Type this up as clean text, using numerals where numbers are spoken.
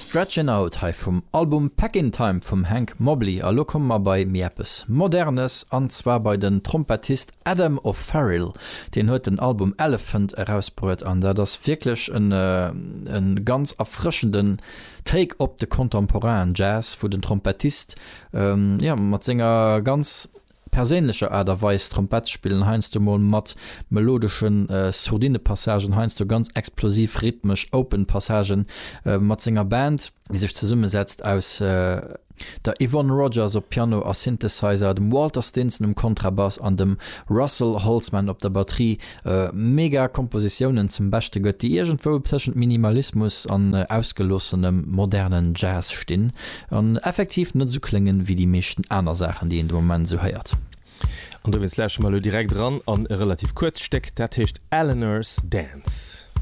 Stretchin' Out hei vum Album Packin' Time vum Hank Mobley. A lo komme mer bei méi eppes Modernes, an zwar bei den Trompettist Adam O'Farrill. Deen huet den Album Elephant erausbruet an dat ass wierklech en ganz erfrëschenden Take op de contemporainen Jazz, wou den Trompettist jo mat senger ganz perséinlecher Aart a Weis Trompett spillen, heiansdo mol mat melodesche Sourdine-Passagen, heiansdo ganz explosiv rhythmesch open Passagen, mat senger Band, déi sech zesummesetzt aus der Yvonne Rogers op Piano a Synthesizer, dem Walter Stinson um Kontrabass an dem Russell Holtzman op der Batterie, mega Kompositiounen zum Beschte gëtt, déi iergendwou tëschent Minimalismus an ausgeloossenem modernen Jazz stinn. An effektiv net esou kléngen wéi déi meeschten aner Saachen déi een de Moment esou héiert. An dowéinst lauschteren mer elo direkt eran an e relativ kuerzt Stéck, dat heescht Eleanor's Dance.